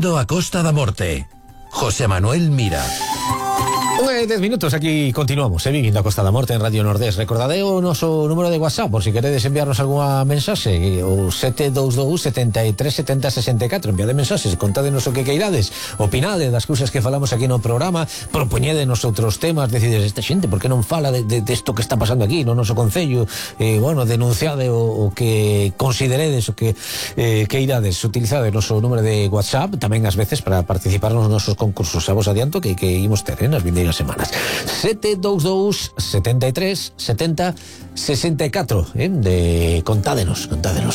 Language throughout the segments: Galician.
Vivindo a Costa da Morte. José Manuel Mira. 10 minutos, aquí continuamos, Vivindo a Costa da Morte en Radio Nordés. Recordade o noso número de WhatsApp por si queredes enviarnos alguna mensaxe, o 722 73 70 64. Enviade mensaxes, contádenos o que queirades, opinade das cousas que falamos aquí no programa, propoñédenos outros temas, decides, esta xente, por que non fala de isto que está pasando aquí no noso concello, bueno, denunciade o que consideredes, o que queirades. Utilizade o noso número de WhatsApp tamén ás veces para participar nos nosos concursos. A vos adianto que imos ter nas vindeiras semanas. 722 73 70 64, contádenos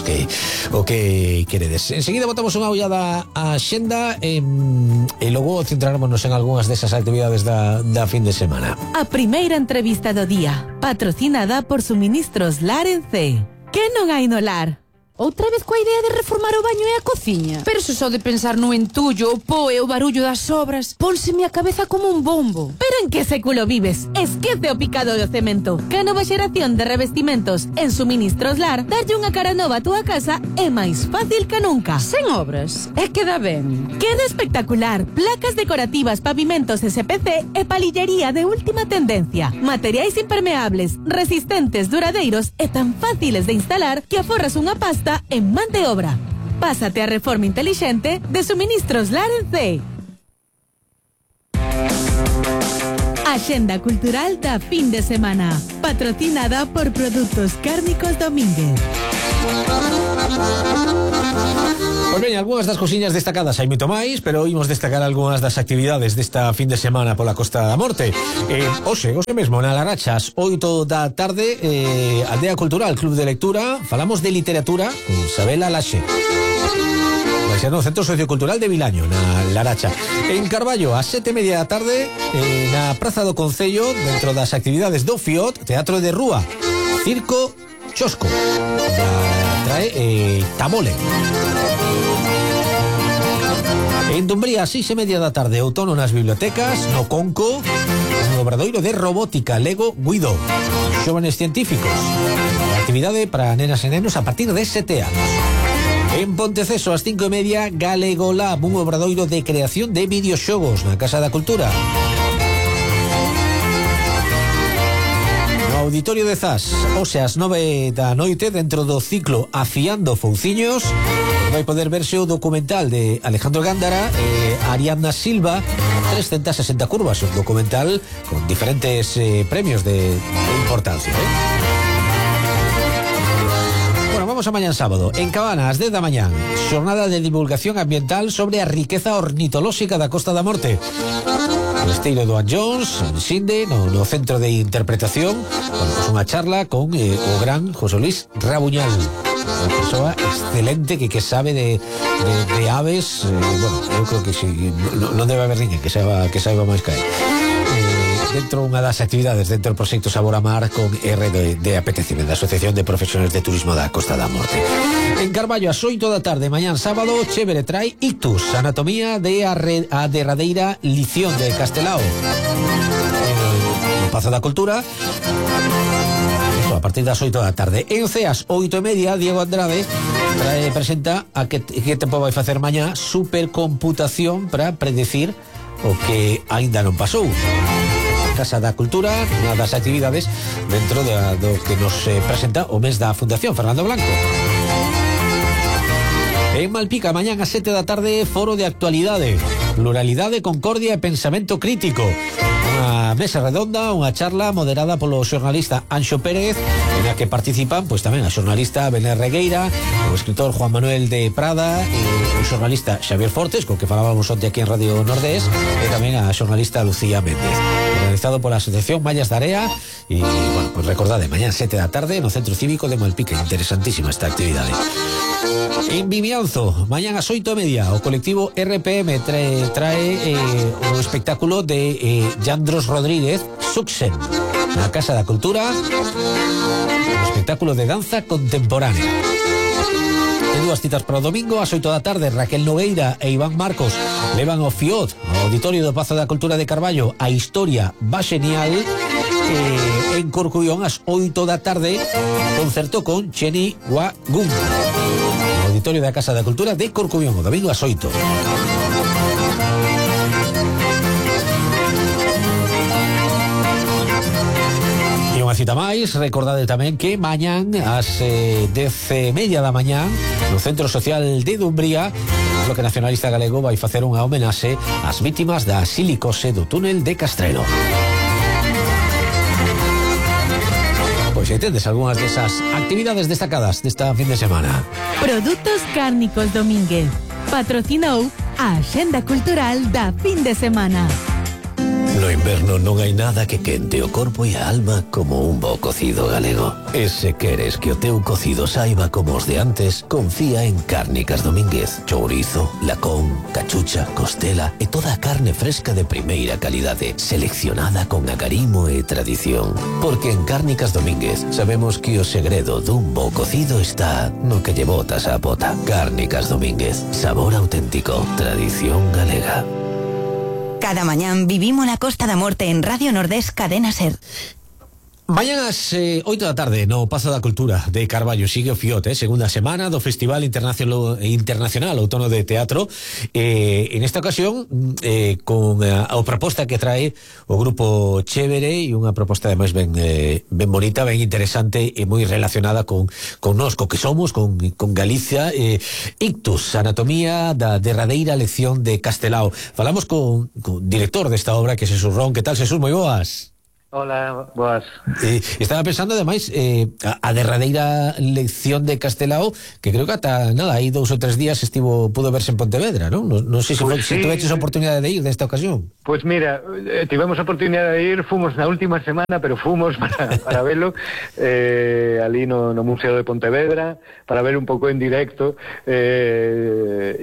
que o que queredes. Enseguida botamos unha ollada á xenda e logo centrarámonos en algunhas desas actividades da fin de semana. A primeira entrevista do día, patrocinada por Suministros Lar en C. Que non hai no lar? Outra vez coa idea de reformar o baño e a cociña? Pero se só de pensar no entullo, o po e o barullo das obras, pónseme a cabeza como un bombo. Pero en que século vives? Esquece o picado do cemento. Que a nova xeración de revestimentos en Suministros Lar darlle unha cara nova a túa casa é máis fácil que nunca. Sen obras, é que dá ben. Queda espectacular. Placas decorativas, pavimentos SPC e palillería de última tendencia. Materiais impermeables, resistentes, duradeiros e tan fáciles de instalar que aforras unha pasta en man de obra. Pásate a reforma inteligente de Suministros Lar en C. Axenda cultural da fin de semana, patrocinada por Produtos Cárnicos Domínguez. Pois ben, algunhas das cosiñas destacadas hai moito máis, pero imos destacar algunhas das actividades desta fin de semana pola Costa da Morte. Hoxe mesmo na Larachas, 8 da tarde, Aldea Cultural, Club de Lectura, falamos de literatura con Sabela Laxe. Vai ser no Centro Sociocultural de Vilaño, na Laracha. En Carballo, a 7:30 da tarde, na Praza do Concello, dentro das actividades do FIOT, Teatro de Rúa, Circo Chosco, trae Tamole. En Dumbría, a 6:30 da tarde, outono nas bibliotecas, no Conco, un obradoiro de robótica Lego Guido, xóvenes científicos, actividade para nenas e nenos a partir de 7 anos. En Ponteceso, ás 5:30, Galego Lab, un obradoiro de creación de videoxogos na Casa da Cultura. No Auditorio de Zas, hoxe ás 9 da noite, dentro do ciclo Afiando Fouciños, vai poder verse o documental de Alejandro Gándara e Ariadna Silva, 360 curvas, un documental con diferentes premios de importancia. Bueno, vamos a mañán sábado. En Cabana, ás 10 da mañán, xornada de divulgación ambiental sobre a riqueza ornitolóxica da Costa da Morte. O esteiro do Jones, en Sinde, no Centro de Interpretación. Bueno, pues unha charla con o gran José Luis Rabuñal, unha persoa excelente que sabe de aves. Bueno, eu creo que si, non debe haber ninguén que saiba máis que él. Dentro unha das actividades dentro do proxecto Sabor a Mar con R de Apetecime, da Asociación de Profesionales de Turismo da Costa da Morte. En Carballo, ás 8 da tarde, mañán sábado, Chévere trae Ictus, anatomía de a derradeira lición de Castelao. No Pazo da Cultura, a partir das 8 da tarde. En Ceas, 8:30, Diego Andrade presenta a que tempo vai facer mañá supercomputación para predecir o que aínda non pasou. Casa da Cultura, unha das actividades dentro do que nos presenta o mes da Fundación Fernando Blanco. En Malpica, mañán a 7 da tarde, foro de actualidade, pluralidade, concordia e pensamento crítico. Unha mesa redonda, unha charla moderada polo xornalista Anxo Pérez, en a que participan pois tamén a xornalista Belén Regueira, o escritor Juan Manuel de Prada, o xornalista Xavier Fortes, co que falábamos onte aquí en Radio Nordés, e tamén a xornalista Lucía Méndez. Organizado pola Asociación Mallas da Area. E, bueno, pues recordade, mañán 7 da tarde no Centro Cívico de Malpica. Interesantísima esta actividade. En Vimianzo, mañán ás 8:30, o colectivo RPM trae o espectáculo de Yandros Rodríguez, Suxen, na Casa da Cultura, o espectáculo de danza contemporánea. Ten dúas citas para o domingo, ás 8 da tarde, Raquel Nogueira e Iván Marcos levan ao FIOT, ao Auditorio do Pazo da Cultura de Carballo, a historia va xenial. En Corcullón, ás 8 da tarde, concerto con Cheni Wagun, auditorio da Casa da Cultura de Corcubión, o domingo ás 8. Unha cita máis, recordade tamén que mañán ás 10:30 da mañán no Centro Social de Dumbría o Bloque Nacionalista Galego vai facer unha homenaxe ás vítimas da silicose do túnel de Castrelo. Pois entendes algunhas desas actividades destacadas desta fin de semana. Produtos Cárnicos Domínguez patrocinou a Axenda Cultural da fin de semana. No inverno non hai nada que quente o corpo e a alma como un bo cocido galego. E se queres que o teu cocido saiba como os de antes, confía en Cárnicas Domínguez. Chourizo, lacón, cachucha, costela e toda a carne fresca de primeira calidade, seleccionada con agarimo e tradición. Porque en Cárnicas Domínguez sabemos que o segredo dun bo cocido está no que lle botas a pota. Cárnicas Domínguez, sabor auténtico, tradición galega. Cada mañán vivimos la Costa da Morte en Radio Nordés Cadena Ser. Mañán ás 8 da tarde no Pazo da Cultura de Carballo sigue o fiote, segunda semana do Festival Internacional Outono de Teatro, en esta ocasión con a proposta que trae o grupo Chévere, e unha proposta ademais ben bonita, ben interesante e moi relacionada con nós, co que somos, con Galicia. Ictus, anatomía da derradeira lección de Castelao. Falamos con director desta obra, que é Xesús Ron. Que tal, Xesús? Moi boas. Hola, boas. Estaba pensando, ademais, a derradeira lección de Castelao, que creo que ata nada, aí 2 ou 3 días pudo verse en Pontevedra, non? Non sei se, se tuveches a oportunidade de ir nesta ocasión. Pois mira, tivemos a oportunidade de ir, fomos na última semana, pero fomos para velo ali no Museo de Pontevedra, para ver un pouco en directo, e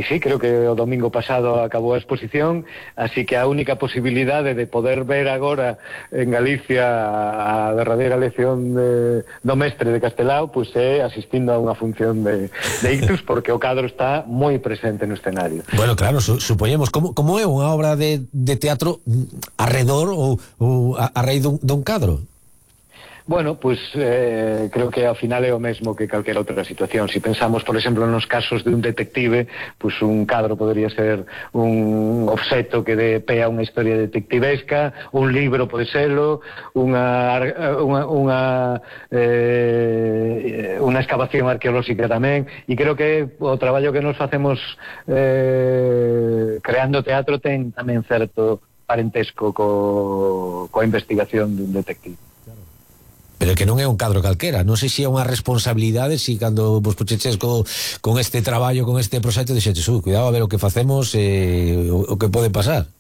sí, creo que o domingo pasado acabou a exposición, así que a única posibilidade de poder ver agora en Galicia a derradeira lección do mestre de Castelao, pois é asistindo a unha función de Ictus, porque o cadro está moi presente no escenario. Bueno, claro, supoñemos, como é unha obra de teatro arredor ou a raíz dun cadro? Bueno, pues creo que ao final é o mesmo que calquera outra situación. Si pensamos, por exemplo, nos casos de un detective, pues un cadro podría ser un obxeto que dé pé a unha historia detectivesca, un libro pode serlo, unha excavación arqueolóxica tamén, e creo que o traballo que nos facemos creando teatro ten tamén certo parentesco coa investigación dun detective. Pero que non é un cadro calquera. Non sei se é unha responsabilidade, se cando vos puxeches con este traballo, con este proxecto, dixetes, cuidado a ver o que facemos, o que pode pasar.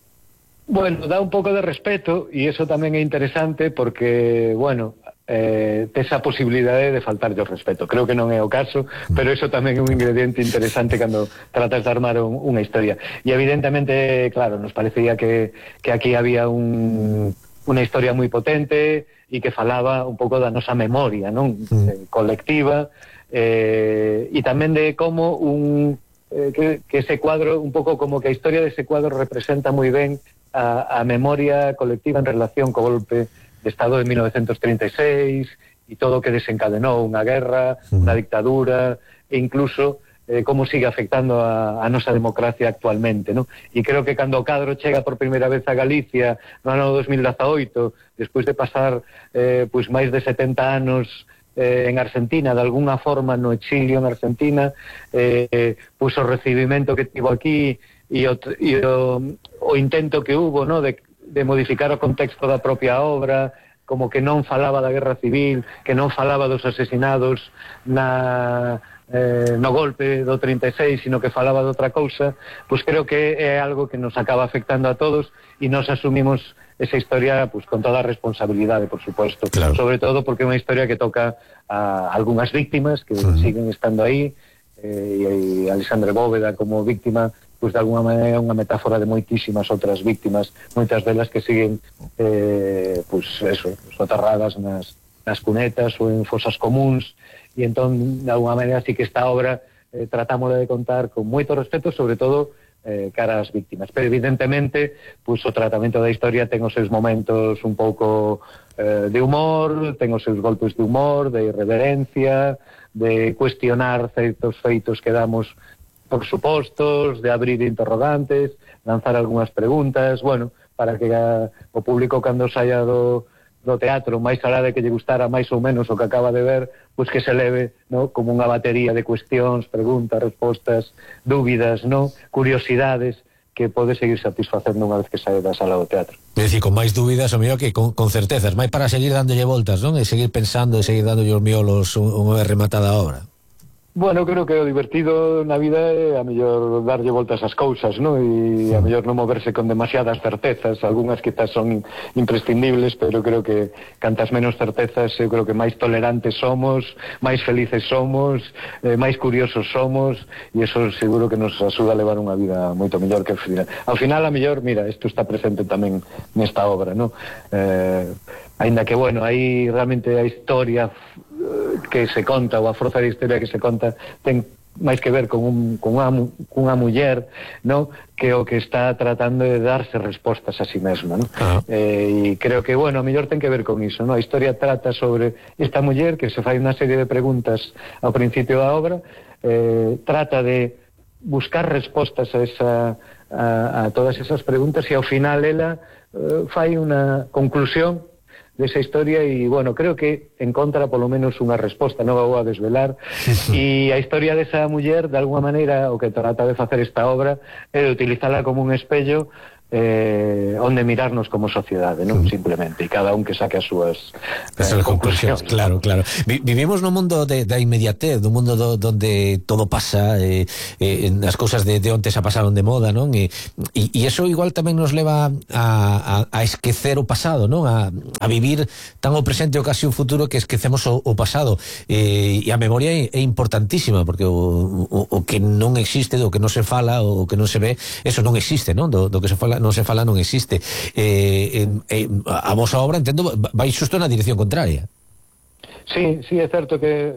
Bueno, dá un pouco de respeto, e iso tamén é interesante, porque, bueno, tes a posibilidade de faltarlle o respeto. Creo que non é o caso, pero iso tamén é un ingrediente interesante cando tratas de armar unha historia. E evidentemente, claro, nos parecía que aquí había unha historia moi potente e que falaba un pouco da nosa memoria, non? Colectiva, e tamén de como que ese cuadro, un pouco como que a historia dese cuadro representa moi ben a memoria colectiva en relación co golpe de Estado de 1936 e todo o que desencadenou unha guerra, unha dictadura, e incluso como sigue afectando a nosa democracia actualmente, non? E creo que cando o cadro chega por primeira vez a Galicia no ano 2018, despois de pasar pois máis de 70 anos en Argentina, de alguna forma no exilio en Argentina, pois o recibimento que tivo aquí e o intento que hubo, no, de modificar o contexto da propia obra, como que non falaba da guerra civil, que non falaba dos asesinados no golpe do 36, sino que falaba de outra cousa, pois creo que é algo que nos acaba afectando a todos, e nos asumimos esa historia pues, con toda a responsabilidade, por suposto, claro. Sobre todo porque é unha historia que toca a algunhas víctimas que siguen estando aí, e Alexandre Bóveda como víctima, pues de alguna maneira é unha metáfora de moitísimas outras víctimas, moitas delas que siguen pues eso, soterradas nas cunetas ou en fosas comuns. E entón, de alguna maneira, sí que esta obra tratamos de contar con moito respeto, sobre todo cara ás víctimas. Pero evidentemente, pois o tratamento da historia ten os seus momentos un pouco de humor, ten os seus golpes de humor, de irreverencia, de cuestionar certos feitos que damos por supostos, de abrir interrogantes, lanzar algunhas preguntas, bueno, para que o público cando saia do teatro, máis alá de que lle gustara máis ou menos o que acaba de ver, pois que se leve, no, como unha batería de cuestións, preguntas, respostas, dúbidas, no, curiosidades que pode seguir satisfacendo unha vez que sae da sala do teatro. É dicir, con máis dúbidas, o mellor que con certezas, máis para seguir dándolle voltas, non? E seguir pensando e seguir dándolle os miolos unha vez rematada a obra. Bueno, creo que o divertido na vida é a mellor darlle voltas ás cousas, ¿no? E a mellor non moverse con demasiadas certezas, algunhas quizás son imprescindibles, pero creo que cantas menos certezas, eu creo que máis tolerantes somos, máis felices somos, máis curiosos somos, e eso seguro que nos axuda a levar unha vida moito mellor que ao final a mellor, mira, isto está presente tamén nesta obra, ¿no? Ainda que, bueno, aí realmente a historia que se conta, ou a forza da historia que se conta, ten máis que ver con unha muller, no, que o que está tratando de darse respostas a si mesma, no? E creo que, bueno, a mellor ten que ver con iso, no? A historia trata sobre esta muller que se fai unha serie de preguntas ao principio da obra, trata de buscar respostas a todas esas preguntas, e ao final ela fai unha conclusión desa historia e, bueno, creo que encontra polo menos unha resposta, non a vou a desvelar, e a historia desa muller, de alguma maneira, o que trata de facer esta obra é de utilizala como un espello onde mirarnos como sociedade, non? Simplemente, e cada un que saque as súas conclusións. Claro. Vivimos nun mundo da inmediatez, dun mundo donde todo pasa, as cousas de onte se pasaron de moda, non? E eso igual tamén nos leva a esquecer o pasado, non? A vivir tan o presente o casi o futuro que esquecemos o pasado, e a memoria é importantísima, porque o que non existe, do que non se fala, o que non se ve, eso non existe, non? Do que se fala non existe. A vosa obra, entendo, vai xusto na dirección contraria. Sí, é certo que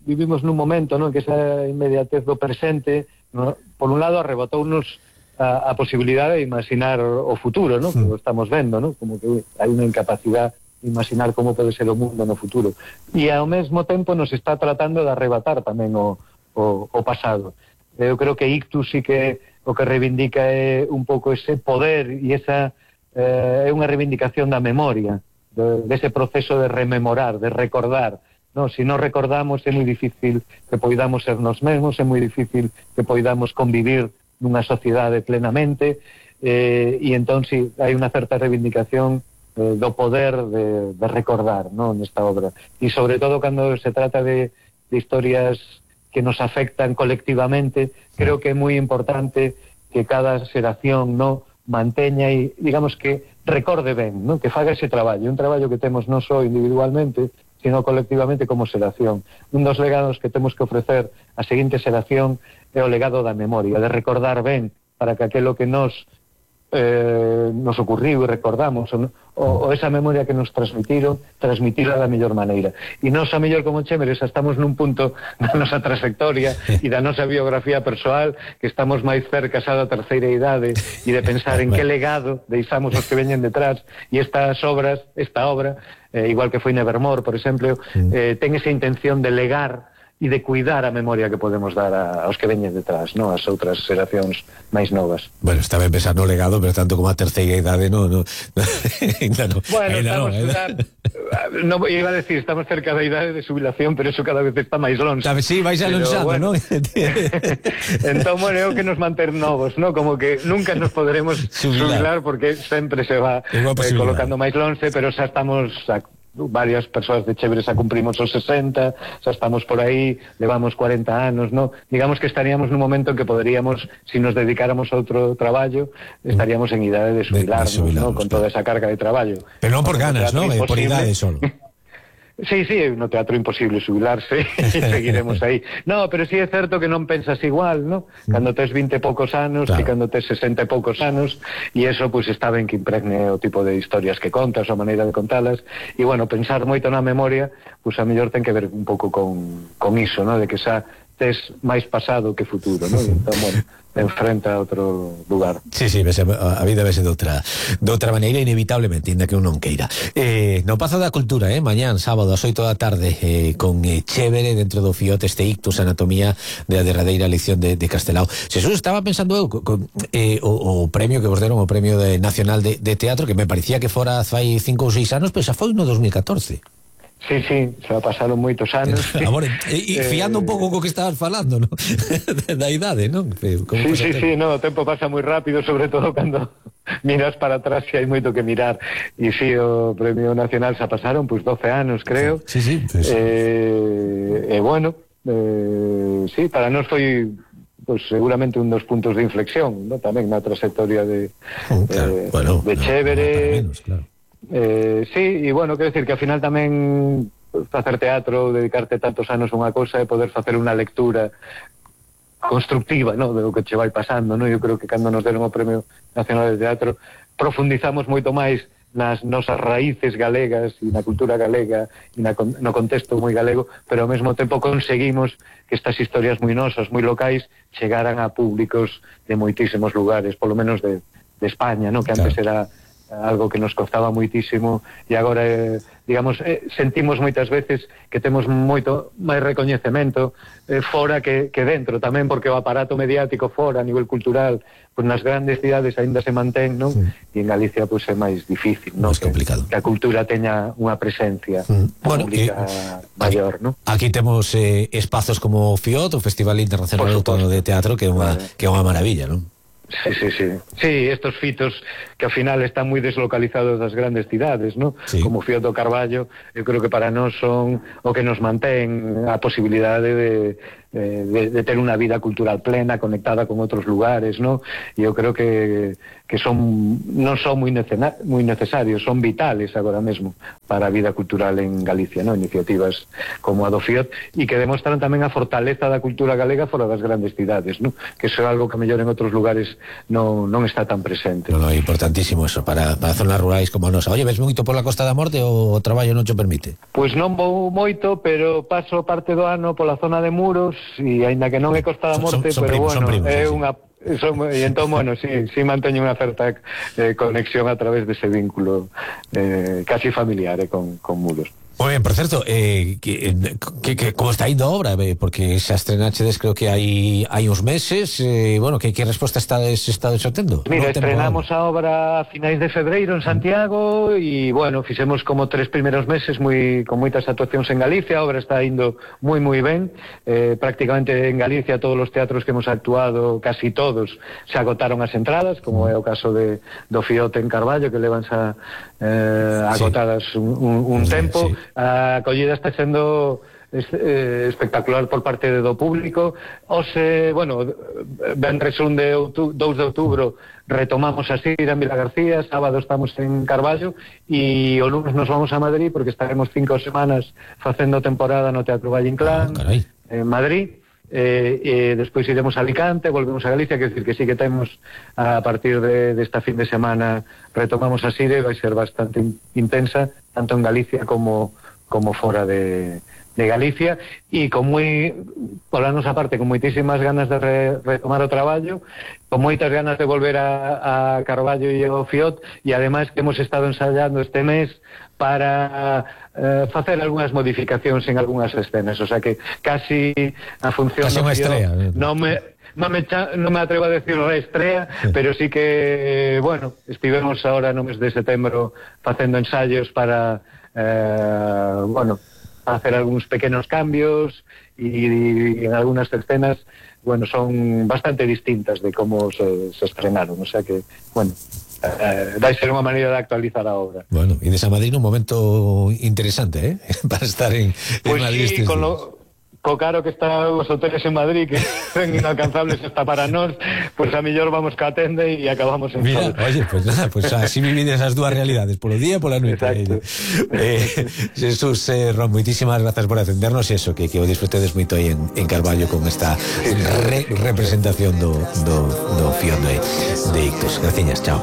vivimos nun momento, non, que esa inmediatez do presente, no, por un lado arrebatounos a posibilidade de imaginar o futuro, non, que o estamos vendo, non, como que hai unha incapacidade de imaginar como pode ser o mundo no futuro, e ao mesmo tempo nos está tratando de arrebatar tamén o pasado. Eu creo que Ictus sí que o que reivindica é un pouco ese poder, e esa é unha reivindicación da memoria, dese proceso de rememorar, de recordar, no? Si non recordamos é moi difícil que poidamos ser nos mesmos, é moi difícil que poidamos convivir nunha sociedade plenamente, e entón si hai unha certa reivindicación do poder de recordar, no? Nesta obra, e sobre todo cando se trata de historias que nos afectan colectivamente, creo que é moi importante que cada xeración, no, manteña e, digamos, que recorde ben, no, que faga ese traballo, un traballo que temos non só individualmente, sino colectivamente como xeración. Un dos legados que temos que ofrecer á seguinte xeración é o legado da memoria, de recordar ben, para que aquelo que nos ocurriu e recordamos, o esa memoria que nos transmitila da mellor maneira. E nós, a mellor como Chémeres, estamos nun punto da nosa trayectoria e da nosa biografía persoal que estamos máis cerca xa da terceira idade e de pensar en que legado deixamos os que veñen detrás, e esta obra, igual que foi Nevermore, por exemplo, ten esa intención de legar e de cuidar a memoria que podemos dar aos que veñen detrás, non? As outras xeracións máis novas. Bueno, está ben pensar no legado, pero tanto como a terceira idade Bueno, iba a decir, estamos cerca da idade de jubilación, pero eso cada vez está máis longe. Sí, vais alonxando, bueno, non? Entón, bueno, é o que nos manter novos, non? Como que nunca nos poderemos jubilar porque sempre se va colocando máis longe, pero xa estamos varias persoas de Chéveres a cumprimos os 60, xa estamos por aí, levamos 40 anos, no? Digamos que estaríamos nun momento en que poderíamos, se nos dedicáramos a outro traballo, estaríamos en idade de xubilarnos, no? Con toda esa carga de traballo. Pero non por ganas, non? Por idade solo. Sí, no teatro imposible xubilarse e seguiremos aí. No, pero sí é certo que non pensas igual, no? Cando tes 20 e poucos anos, claro, que cando tes 60 e poucos anos, e eso, pois, está ben que impregne o tipo de historias que contas, a maneira de contalas, e, bueno, pensar moito na memoria, pois, a mellor ten que ver un pouco con iso, no? De que xa tes máis pasado que futuro, non? Entón, bueno, enfrenta a outro lugar. Sí, a vida vese de outra maneira, inevitablemente, ainda que un non queira. No Pazo da Cultura, mañán, sábado, ás 8 da tarde, con Chévere, dentro do FIOT, este Ictus, Anatomía da derradeira lección de Castelao. Jesús, estaba pensando eu, o premio que vos deron, o premio nacional de teatro, que me parecía que fora fai 5 ou 6 anos, pero xa foi no 2014. Sí, xa pasaron moitos anos. Amor, e fiando un pouco co que estabas falando, ¿no? Da idade, non? Sí, no, o tempo pasa moi rápido, sobre todo cando miras para atrás, que hai moito que mirar. E sí, o Premio Nacional xa pasaron, pois 12 anos, creo. Sí. Bueno, sí, para nós foi pues seguramente un dos puntos de inflexión, ¿no? Tamén na trayectoria de Chévere. Claro. Sí, e bueno, quero decir que ao final tamén facer teatro, dedicarte tantos anos a unha cosa e poder facer unha lectura constructiva, ¿no? De lo que che vai pasando, ¿no? Eu creo que cando nos deron o Premio Nacional de Teatro profundizamos moito máis nas nosas raíces galegas e na cultura galega e no contexto moi galego, pero ao mesmo tempo conseguimos que estas historias moi nosas, moi locais, chegaran a públicos de moitísimos lugares, polo menos de España, ¿no? Que antes era algo que nos costaba moitísimo e agora, digamos, sentimos moitas veces que temos moito máis recoñecemento fora que dentro tamén, porque o aparato mediático fora, a nivel cultural, pues nas grandes cidades aínda se mantén, non? E en Galicia pues é máis difícil, non? Máis complicado. Que a cultura teña unha presencia pública maior, non? Aquí temos espazos como o FIOT, o Festival Internacional de Outono de Teatro, que é unha maravilla, non? Sí, estos fitos que ao final están moi deslocalizados das grandes cidades, ¿no? Sí. Como Fío do Carballo, eu creo que para nós son o que nos mantén a posibilidade de ter unha vida cultural plena, conectada con outros lugares, ¿no? E eu creo que non son moi necesarios, son vitales agora mesmo para a vida cultural en Galicia, ¿no? Iniciativas como a do Fiot, e que demostran tamén a fortaleza da cultura galega fora das grandes cidades, ¿no? Que iso é algo que a mellor en outros lugares non está tan presente. No, importantísimo eso, para zonas rurais como a nosa. Oye, ves moito pola Costa da Morte ou o traballo non te permite? Pois non vou moito, pero paso parte do ano pola zona de Muros, e aínda que non é Costa da Morte, pero bueno, é unha... E entón, bueno, sí manteño unha certa conexión a través dese vínculo casi familiar con Muros. Moi ben, por certo, como está indo a obra? Porque xa estrenachedes creo que hai uns meses, bueno, que resposta estades obtendo? Mira, estrenamos a obra a finais de febreiro en Santiago e, bueno, fixemos como 3 primeiros meses con moitas actuacións en Galicia. A obra está indo moi ben, prácticamente en Galicia todos os teatros que hemos actuado, casi todos, se agotaron as entradas, como é o caso do Fiote en Carballo, que levan xa agotadas un tempo. Sí. A acollida está sendo espectacular por parte do público. Bueno, venres 2 de outubro retomamos a xira en Vilagarcía, sábado estamos en Carballo e o lunes nos vamos a Madrid porque estaremos 5 semanas facendo temporada no Teatro Valle Inclán en Madrid. E despois iremos a Alicante, volvemos a Galicia, quer decir que sí que temos a partir desta fin de semana retomamos a xira e vai ser bastante intensa, tanto en Galicia como fora de Galicia, e pola nosa parte, con moitísimas ganas de retomar o traballo, con moitas ganas de volver a Carballo e ao Fiot, e ademais que hemos estado ensayando este mes para facer algunhas modificacións en algunhas escenas, o sea que casi a función casi unha estrella, non me atrevo a decir reestrea, pero sí que, bueno, estivemos ahora no mes de setembro facendo ensayos para bueno, hacer algúns pequenos cambios e en algunhas escenas, bueno, son bastante distintas de como se estrenaron, o sea que, bueno, vai ser unha maneira de actualizar a obra. Bueno, e desa Madrid un momento interesante, para estar en Madrid. Pues sí, co caro que están os hoteles en Madrid, que son inalcanzables hasta para nós, pues a mellor vamos ca tende e acabamos en Mira, oye, pues nada, pues así vivides as dúas realidades, polo día e pola noite. Jesús Ron, moitísimas grazas por atendernos e eso, que o disfrutedes moito aí en Carballo con esta representación do Fiot de Ictus. Graciñas, chao.